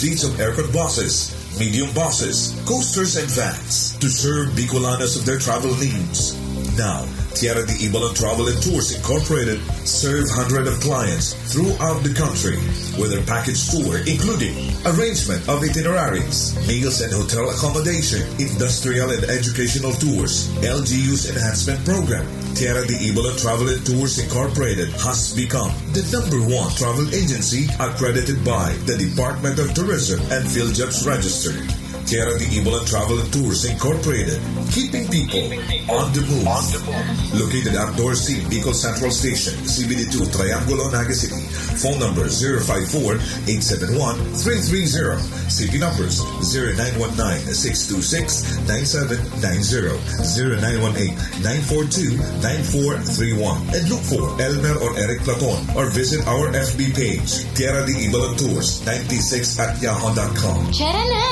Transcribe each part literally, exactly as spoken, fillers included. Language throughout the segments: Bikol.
Fleets of aircon buses, medium buses, coasters, and vans to serve Bicolanos of their travel needs. Now, Tierra de Ibalan Travel and Tours Incorporated serve hundred of clients throughout the country with their package tour, including arrangement of itineraries, meals and hotel accommodation, industrial and educational tours, L G U's enhancement program. Tierra de Ibalan Travel and Tours Incorporated has become the number one travel agency accredited by the Department of Tourism and PhilJobs Register. Tierra de Ibalan Travel and Tours Incorporated, keeping people on the move. Located at Dorsey, Bicol Central Station, C B D two, Triangulo, Naga City. Phone number zero five four, eight seven one, three three zero. C P numbers zero nine one nine, six two six, nine seven nine zero, zero nine one eight, nine four two, nine four three one. And look for Elmer or Eric Platon or visit our F B page, Tierra de Ibalan Tours ninety-six at yahoo dot com. Tara na!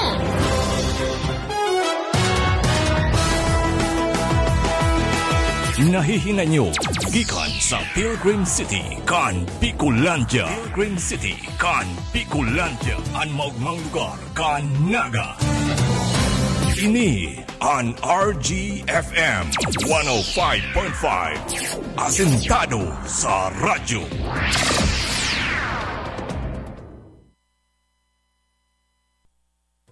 Nahihinay nyo gikan sa Pilgrim City kan Bicolandia. Pilgrim City kan Bicolandia, an maogmang lugar kan Naga. Ini an R G F M one oh five point five, asentado sa radyo.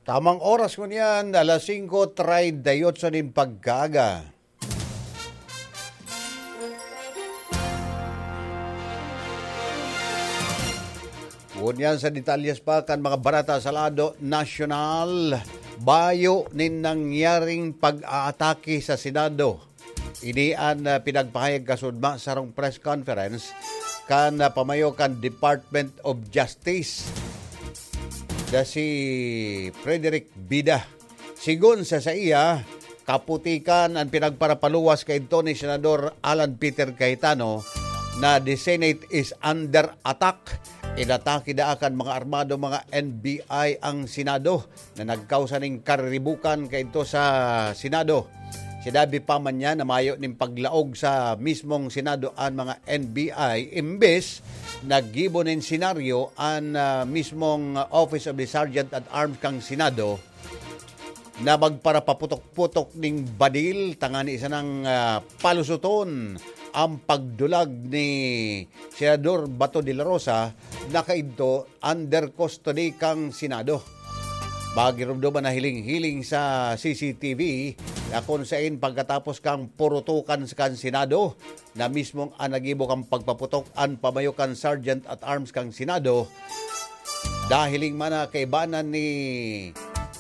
Tamang oras ngunyan, alas singko treinta y ocho nin pagkaaga. Ngunyan sa detalyes pa kan mga bareta sa lado nasyonal, bayo nin nangyaring pag-aatake sa Senado. Ini an, ah, pinagpahayag kasudma sa sarong press conference kan, ah, pamayo kan Department of Justice na si Frederick Bida. Sigon sa saiya, kaputikan an pinagparapaluwas kaidto ni Senador Alan Peter Cayetano na the Senate is under attack. Inatake daa kan mga armado, mga N B I ang Senado na nagkausa ning kariribukan kaidto sa Senado. Sinabi pa man niya na mayo nin paglaog sa mismong Senado an mga N B I, imbes naggibo nin senaryo an, ah, mismong Office of the Sergeant at Arms kan Senado na magparapaputok-putok ning badil tangani sanang, ah, palusoton ang pagdulag ni Senador Bato de la Rosa na kaidto under custody kan Senado. Magiromdom an nahiling-hiling sa C C T V na kun saen pagkatapos kan purutukan sa kan Senado, na mismong an naggibo kan pagpaputok an pamayo kan Sergeant at Arms kan Senado. Nahiling man na kaibanan ni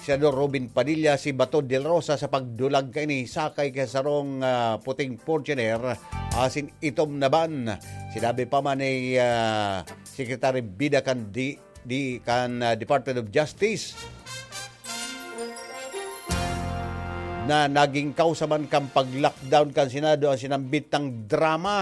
Senador Robin Padilla si Bato de la Rosa sa pagdulag kaini sakay ka sarong, ah, puting Fortuner asin itom na van. Sinabi pa man ni, ah, Secretary Bida kan di, di kan, ah, Department of Justice na naging kausa man kan pag-lockdown kan Senado an sinambit na drama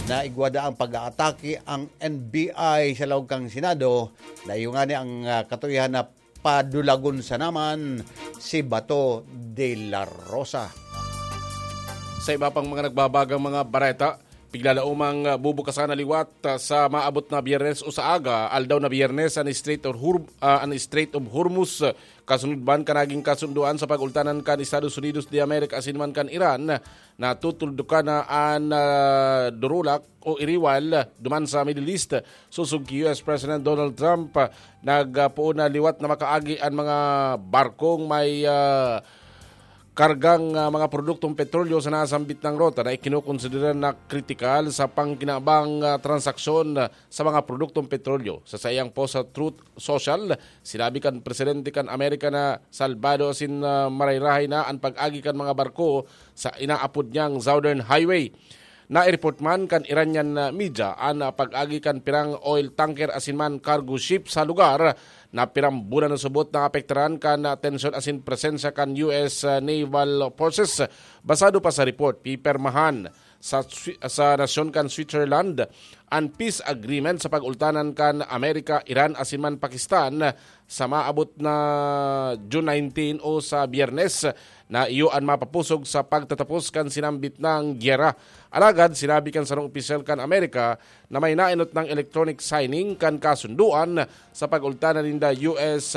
na igwa daang pag-aatake ang N B I sa laog kan Senado, na iyo ngani ang, ah, katuyohan na padulagon sana man si Bato de la Rosa. Sa iba pang mga nagbabagang mga bareta, piglalaomang, ah, bubukasan na liwat, ah, sa maabot na Biyernes o sa aga, aldaw na Biyernes, an Strait of Hor-, ah, an Strait of Hormuz, ah, kasunod man kan naging kasundoan sa pag-ultanan kan Estados Unidos de America asin man kan Iran, na tutuldukan na an, ah, durulak o iriwal duman sa Middle East. Sosog ki U S President Donald Trump, ah, nagpoon na liwat na makaagi an mga barkong may, ah, kargang, ah, mga produktong petrolyo sa nasambit na rota na ikinokonsidera na kritikal sa pangkinabang, ah, transaksyon, ah, sa mga produktong petrolyo. Sa saiyang post sa Truth Social, sinabi kan presidente kan Amerika na salbado asin, ah, marayrahay na an pag-agi kan mga barko sa inaapod niyang Southern Highway. Nai-report man kan Iranian, ah, media an, ah, pag-agi kan pirang oil tanker asin man cargo ship sa lugar na pirang bulan na subot naapektaran kan, ah, tensyon asin presensya kan U S, ah, naval forces. Basado pa sa report, pipirmahan sa Swi-, sa nasyon kan Switzerland an peace agreement sa pag-ultanan kan Amerika, Iran asin man Pakistan sa maabot na June nineteen o sa Biyernes, na iyo an mapapusog sa pagtatapos kan sinambit na gyera. Alagad sinabi kan sarong opisyal kan Amerika na may naenot nang electronic signing kan kasundoan sa pag-ultanan ninda U S